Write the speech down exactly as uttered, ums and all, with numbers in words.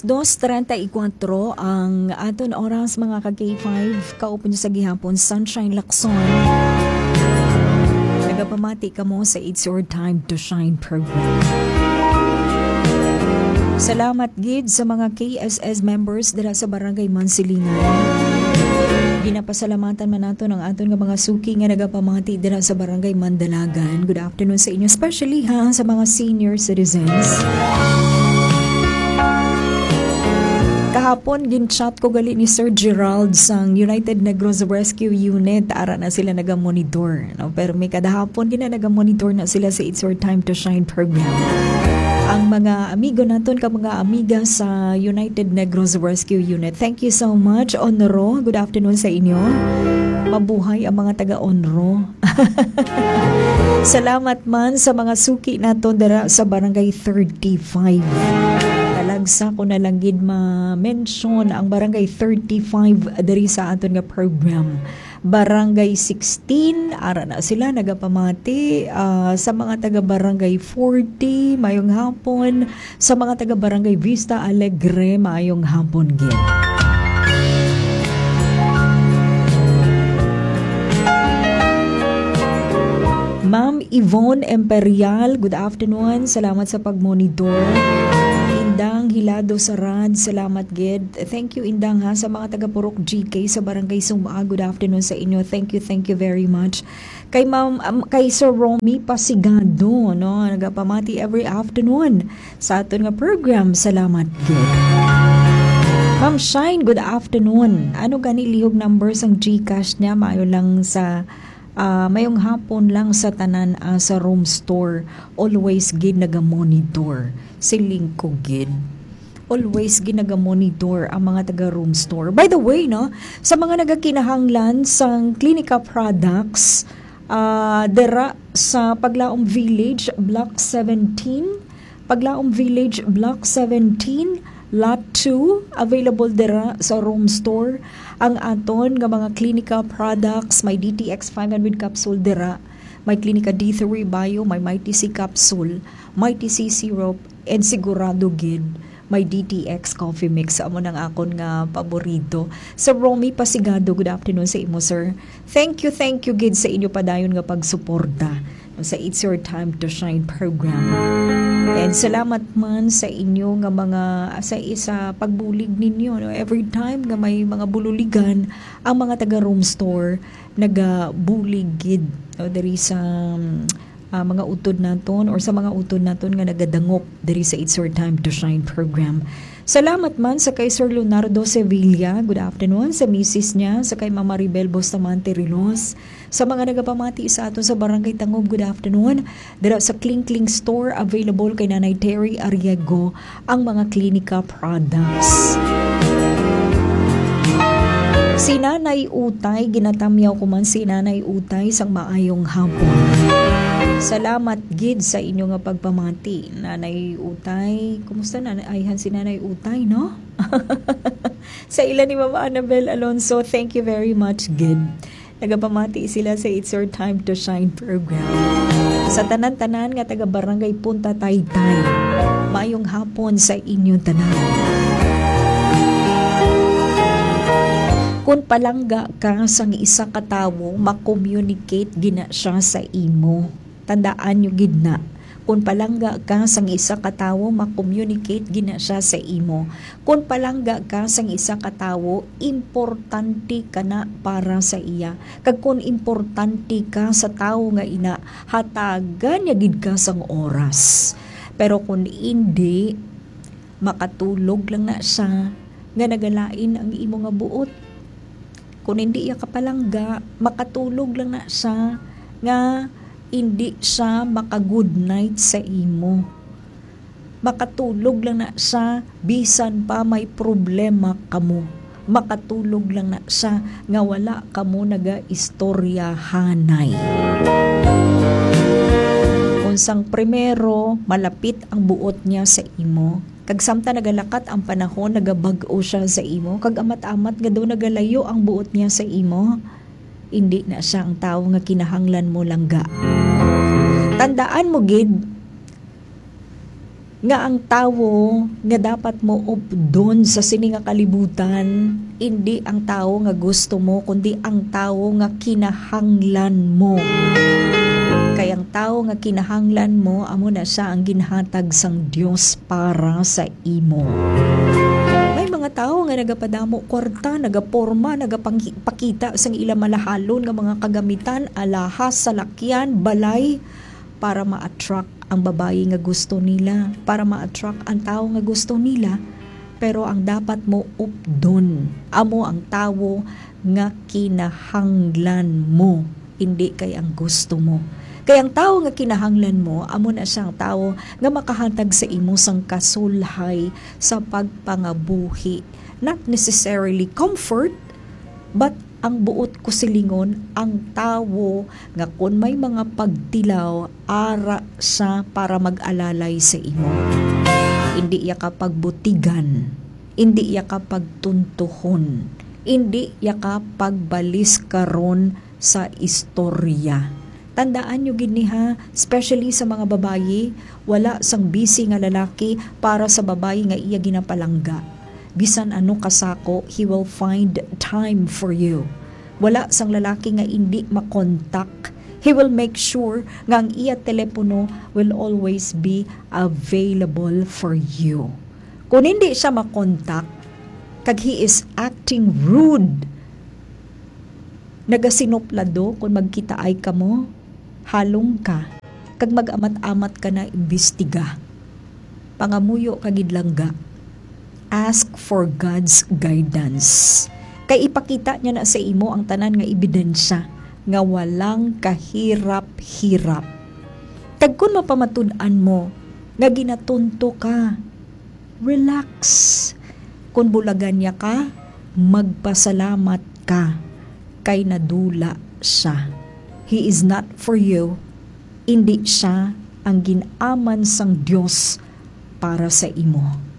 Dos treinta y cuatro ang aton oras, mga ka-K five. Kaup niyo sa gihapon, Sunshine Lacson. Nagapamati kamo sa It's Your Time to Shine program. Salamat gid sa mga K S S members dira sa Barangay Mansilingan. Ginapasalamatan man naton ang aton nga mga suki nga nagapamati dira sa Barangay Mandalagan. Good afternoon sa inyo, especially ha sa mga senior citizens. Kahapon, gin-chat ko gali ni Sir Gerald sang United Negros Rescue Unit. Ara na sila nagamonitor, no? Pero may kadahapon, gina nagamonitor na sila sa It's Your Time to Shine program. Ang mga amigo naton, ka mga amiga sa United Negros Rescue Unit, thank you so much, Onro. Good afternoon sa inyo. Mabuhay ang mga taga-Onro. Salamat man sa mga suki naton dira sa Barangay thirty-five. Talagsa ko na lang gid ma-mention ang Barangay thirty-five diri sa aton nga program. Barangay sixteen, ara na sila nagapamati, ah, sa mga taga Barangay forty, mayong hapon. Sa mga taga Barangay Vista Alegre, maayong hapon gid. Ma'am Yvonne Imperial, good afternoon. Salamat sa pagmonitor. Indang Hilado Sarad, salamat gid. Thank you, Indang, ha, sa mga taga Purok G K sa Barangay Suma. Good afternoon sa inyo. Thank you, thank you very much. Kay Ma'am, um, kay Sir Romy Pasigado, no, nagapamati every afternoon sa aton nga program. Salamat gid. Ma'am Shine, good afternoon. Ano gani lihog number sang GCash niya? Maayo lang sa, ah, mayong hapon lang sa tanan, ah, sa Room Store. Always gid naga-monitor. Siling ko gid. Always gid naga-monitor ang mga taga Room Store. By the way, no, sa mga nagakinahanglan sang Clinica products, ah, dira sa Paglaom Village, Block seventeen, Paglaom Village, Block seventeen, Lot two, available dira sa Room Store ang aton nga mga Clinica products. May D T X five hundred capsule dira, may Clinica D three Bio, may Mighty C capsule, Mighty C syrup, and sigurado gid may D T X coffee mix. Amo nang akon nga paborito. Sir Romy Pasigado, good afternoon sa imo, sir. Thank you, thank you gid sa inyo padayon nga pagsuporta sa It's Your Time to Shine program. And salamat man sa inyo nga mga, sa isa pagbulig ninyo, no? Every time nga may mga bululigan ang mga taga Room Store, nagabulig gid, no, diri sa, um, ah, mga utod naton or sa mga utod naton nga nagadangop diri sa It's Your Time to Shine program. Salamat man sa kay Sir Leonardo Sevilla, good afternoon, sa misis niya, sa kay Mama Maribel Bustamante Rilos, sa mga nagapamati sa aton sa Barangay Tangub, good afternoon. Dira sa Kling Kling Store, available kay Nanay Terry Arriego ang mga Clinica products. Si Nanay Utay, ginatamyaw ko man si Nanay Utay sang maayong hapon. Salamat gid sa inyo nga pagpamati, Nanay Utay. Kumusta na ayhan si Nanay Utay, no? Sa ila ni Mama Annabel Alonso, thank you very much gid. Nagapamati sila sa It's Your Time to Shine program. Sa tanan-tanan nga taga Barangay Punta Taytay, mayong hapon sa inyo tanan. Kung palangga ka sang isa ka tawo, ma-communicate gina siya sa imo. Tandaan nyo gid na, kung palangga ka sang isa ka tawo, ma-communicate gina siya sa imo. Kung palangga ka sang isa ka tawo, importante ka na para sa iya. Kag kung importante ka sa tawo nga ina, hatagan niya gid ka sang oras. Pero kung indi, makatulog lang na siya nga nagalain ang imo nga buot. Kung indi iya ka palangga, makatulog lang na siya nga indi siya maka-good night sa imo. Makatulog lang na siya bisan pa may problema kamo. Makatulog lang na siya nga wala kamo nagaistoryahanay. Kung sang primero, malapit ang buot niya sa imo, kag samtang nagalakat ang panahon, nagabag-o siya sa imo, kag amat-amat nga daw nagalayo ang buot niya sa imo, indi na siya ang tawo nga kinahanglan mo langga. Tandaan mo gid, nga ang tawo nga dapat mo updon sa sini nga kalibutan, indi ang tawo nga gusto mo, kundi ang tawo nga kinahanglan mo. Kay ang tawo nga kinahanglan mo, amo na siya ang ginhatag sang Dios para sa imo. May mga tawo nga nagapadamo kwarta, nagaporma, nagapangipakita sang ila malahalon nga mga kagamitan, alahas, salakyan, balay, para ma-attract ang babayi nga gusto nila, para ma-attract ang tawo nga gusto nila. Pero ang dapat mo updon, amo ang tawo nga kinahanglan mo, indi kay ang gusto mo. Kay ang tawo nga kinahanglan mo, amo na siya ang tawo nga makahatag sa imo sang kasulhay sa pagpangabuhi. Not necessarily comfort, but ang buot ko silingon, ang tawo nga kon may mga pagtilaw, ara siya para mag-alalay sa imo. Indi iya ka pagbutigan, indi iya ka pagtuntuhon, indi iya ka pagbaliskaron sa istorya. Tandaan nyo gid ni ha, especially sa mga babayi, wala sang busy nga lalaki para sa babayi nga iya ginapalangga. Bisan ano kasako, he will find time for you. Wala sang lalaki nga indi makontak. He will make sure nga ang iya telepono will always be available for you. Kung hindi siya makontak, kag he is acting rude, nagasinuplado kung magkitaay kamo, halong ka, kag mag-amat-amat ka na imbestiga. Pangamuyo ka gid langga. Ask for God's guidance. Kay ipakita niya na sa imo ang tanan nga ebidensya nga walang kahirap-hirap. Kag kun mapamatud-an mo nga ginatunto ka, relax. Kun bulagan niya ka, magpasalamat ka kay nadula siya. He is not for you. Indi siya ang gin-aman sang Dios para sa imo.